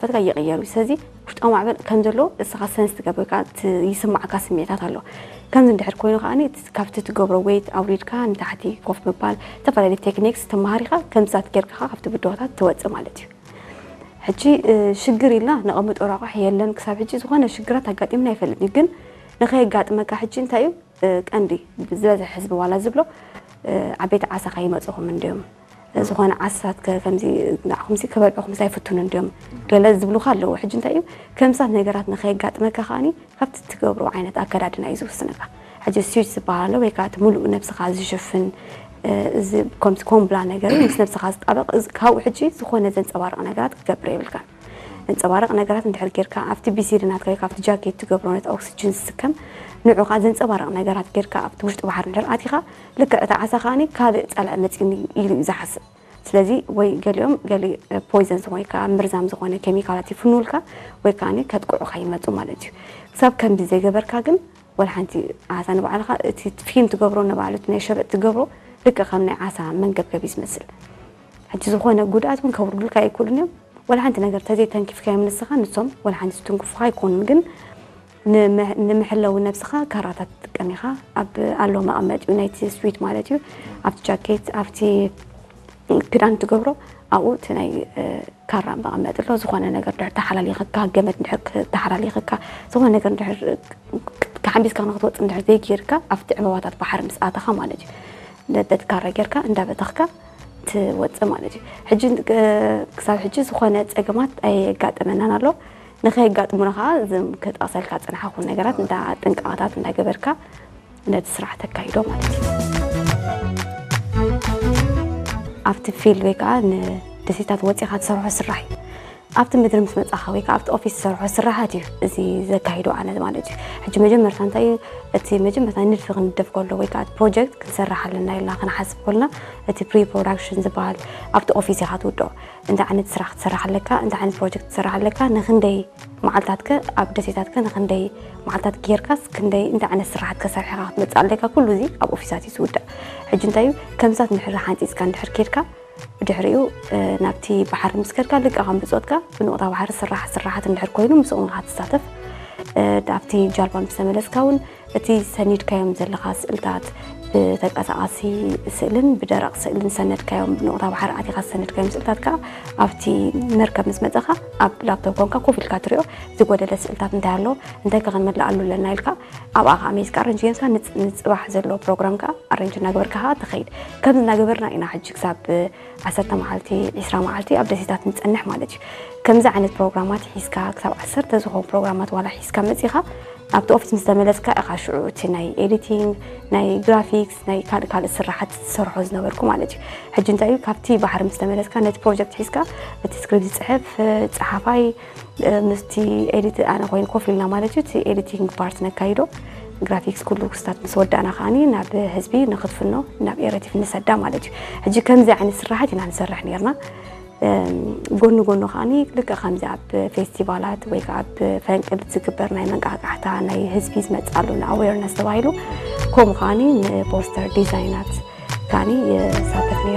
ፈትካ ይቕየሩ። ስለዚ ውሽጣዊ ማዕበል ከም ዘሎ እስኻ ሰንስ ትገብር ወይ ከዓ ት- ይስማዕካ ስምዒታት ኣሎ። ከምዚ እንድሕር ኮይኑ ከዓኒ እቲ- ካብቲ ትገብሮ ዌይት ኣውሪድካ ንታሕቲ ኮፍ ምባል፣ ዝተፈላለዩ ቴክኒክስ ተማሃሪኻ ከምዚታት ጌርካ ካብቲ ብድሆታት ትወፅእ ማለት እዩ። ሕጂ ሽግር ኢልና ነቐምጦ ረቋሕ የለን። ክሳብ ሕጂ ዝኾነ ሽግራት ኣጋጢምና ኣይፈልጥን እዩ። ግን ንኸየጋጥመካ ሕጂ እንታይ እዩ ቀንዲ ዝበዝሕ ህዝቢ ዋላ ዝብሎ ዓበይቲ ዓሳ ከይመፅኹም እንድዮም ዝኾነ ዓሳት ከምዚ ንዓኹምሲ ክበልዑኹም ኣይፍቱን እንድዮም ገለ ዝብሉካ ኣለዉ። ሕጂ እንታይ እዩ ከምሳት ነገራት ንኸየጋጥመካ ከዓኒ ካብቲ ትገብሮ ዓይነት ኣከዳድና እዩ ዝውስነካ። ሕጂ ስዊት ዝበሃል ኣሎ ወይ ከዓ እቲ ሙሉእ ነብስኻ ዝሽፍን እዚ ከምዚ ኮምብላ ነገር እዩ ምስ ነብስኻ ዝጣበቕ ካብኡ ሕጂ ዝኾነ ዘንፀባርቕ ነገራት ክትገብር የብልካን። ዘንፀባርቕ ነገራት እንድሕር ጌርካ ኣብቲ ቢሲዲ ናትካ ወይ ካብቲ ጃኬት ትገብሮ ነቲ ኦክሲጅን ዝስከም ንዑ ከዓ ዘንፀባርቕ ነገራት ጌርካ ኣብቲ ውሽጢ ባሕሪ እንድሕር ኣቲኻ ልክዕ እቲ ዓሳ ከዓኒ ካልእ ፀልዒ መፂኒ ኢሉ እዩ ዝሓስብ። ስለዚ ወይ ገሊኦም ገሊ ፖይዘን ዝኾነ ወይ ከዓ መርዛም ዝኾነ ኬሚካላት ይፍንውልካ ወይ ከዓ ከጥቅዑካ ይመፁ ማለት እዩ። ክሳብ ከምዚ ዘይገበርካ ግን ወላ ሓንቲ ዓሳ ንባዕልኻ እቲ ፊልም ትገብሮ ንባዕሉ እቲ ናይ ሸበጥ ትገብሮ ልክዕ ከም ናይ ዓሳ መንገብገብ እዩ ዝመስል። ሕጂ ዝኾነ ጉድኣት እውን ከውርዱልካ ኣይክእሉን እዮም። ወላ ሓንቲ ነገር ተዘይተንኪፍካዮም ንስኻ ንሶም ወላ ሓንቲ ዝትንክፉኻ ኣይኮኑን። ግን ንምሕ- ንምሕለዊ ነብስኻ ካራታት ትጥቀም ኢኻ። ኣብ ኣሎ መቐመጢኡ ናይቲ ስዊት ማለት እዩ ኣብቲ ጃኬት ኣብቲ ክዳን ትገብሮ ኣብኡ እቲ ናይ ካራ መቐመጢ ኣሎ። ዝኾነ ነገር ድሕር ተሓላሊኽካ ገመድ ድሕር ተሓላሊኽካ ዝኾነ ነገር ድሕር ተሓምቢስካ ንክትወፅእ ድሕር ዘይጌርካ ኣብቲ ዕምባባታት ባሕሪ ምስ ኣተኻ ማለት እዩ ነቲ ካራ ጌርካ እንዳበተኽካ ትወፅእ ማለት እዩ። ሕጂ ክሳብ ሕጂ ዝኾነ ፀገማት ኣየጋጠመናን ኣሎ። ንኸየጋጥሙና ከዓ እዞም ክጠቕሰልካ ዝፀናሕኹ ነገራት እንዳ ጥንቃቐታት እንዳገበርካ ነቲ ስራሕ ተካይዶ ማለት እዩ። ኣብቲ ፊልድ ወይ ከዓ ንደሴታት ወፂኻ ትሰርሖ ስራሕ እዩ። ኣብቲ ምድሪ ምስ መፃኻ ወይ ከዓ ኣብቲ ኦፊስ ዝሰርሖ ስራሓት እዩ እዚ ዘካይዶ ኣነ ማለት እዩ። ሕጂ መጀመርታ እንታይ እዩ እቲ መጀመርታ ንድፊ ክንደፍ ከሎ ወይ ከዓ ፕሮጀክት ክንሰርሕ ኣለና ኢልና ክንሓስብ ከልና እቲ ፕሪ ፕሮዳክሽን ዝበሃል ኣብቲ ኦፊስ ኢኻ ትውድኦ። እንታይ ዓይነት ስራሕ ክትሰርሕ ኣለካ፣ እንታይ ዓይነት ፕሮጀክት ክትሰርሕ ኣለካ፣ ንክንደይ መዓልታትከ ኣብ ደሴታትከ ንክንደይ መዓልታት ጌርካስ ክንደይ እንታይ ዓይነት ስራሕት ከሰርሕ ኢኻ ክትመፅእ ኣለካ፣ ኩሉ እዚ ኣብ ኦፊሳት እዩ ዝውዳእ። ሕጂ እንታይ እዩ ከምሳት እንድሕር ሓንፂፅካ እንድሕር ኬድካ ብድሕሪኡ ናብቲ ባሕሪ ምስ ከድካ ልቃ ከም ብፆትካ ብንቑጣ ባሕሪ ስራሕ ስራሓት እንድሕር ኮይኑ ምስኦም ኢኻ ትሳተፍ። ኣብቲ ጃልባ ምስ ተመለስካ እውን እቲ ሰኒድካዮም ዘለኻ ስእልታት ብተንቀሳቓሲ ስእልን ብደረቕ ስእልን ዝሰነድካዮም ብንቑጣ ባሕሪ ኣቲኻ ዝሰነድካዮም ስእልታት ከዓ ኣብቲ መርከብ ምስ መፀኻ ኣብ ላፕቶፕ ኮንካ ኮፍ ኢልካ ትሪኦ ዝጎደለ ስእልታት እንታይ ኣሎ እንታይ ከ ክንመልኣሉ ኣለና ኢልካ ኣብኣ ከዓ ሜስካ ኣረንጅ ጌርካ ንፅባሕ ዘሎ ፕሮግራም ከዓ ኣረንጅ እናገበርካ ከዓ ትኸይድ። ከምዚ እናገበርና ኢና ሕጂ ክሳብ ዓሰርተ መዓልቲ ዒስራ መዓልቲ ኣብ ደሴታት ንፀንሕ ማለት እዩ። ከምዚ ዓይነት ፕሮግራማት ሒዝካ ክሳብ ዓሰርተ ዝኾኑ ፕሮግራማት ዋላ ሒዝካ መፂኻ ኣብቲ ኦፊስ ምስ ተመለስካ ኢኻ ሽዑ እቲ ናይ ኤዲቲንግ ናይ ግራፊክስ ናይ ካልእ ካልእ ስራሓት ዝሰርሖ ዝነበርኩ ማለት እዩ። ሕጂ እንታይ እዩ ካብቲ ባሕሪ ምስ ተመለስካ ነቲ ፕሮጀክት ሒዝካ እቲ ስክሪፕት ዝፅሕፍ ፀሓፋይ ምስቲ ኤዲት ኣነ ኮይኑ ኮፍ ኢልና ማለት እዩ እቲ ኤዲቲንግ ፓርት ነካይዶ ግራፊክስ ኩሉ ክስታት ምስ ወዳእና ከዓኒ ናብ ህዝቢ ንክትፍኖ ናብ ኤረቲፍ ንሰዳ ማለት እዩ። ሕጂ ከምዚ ዓይነት ስራሓት ኢና ንሰርሕ ነርና። ጎኒ ጎኑ ከዓኒ ልክዕ ከምዚ ኣብ ፌስቲቫላት ወይ ከዓ ኣብ ፈንቅል ዝግበር ናይ መንቃቃሕታ ናይ ህዝቢ ዝመፅእ ኣሎ ንኣዌርነስ ተባሂሉ ከምኡ ከዓኒ ንፖስተር ዲዛይናት ከዓኒ የሳተፍ ነይረ።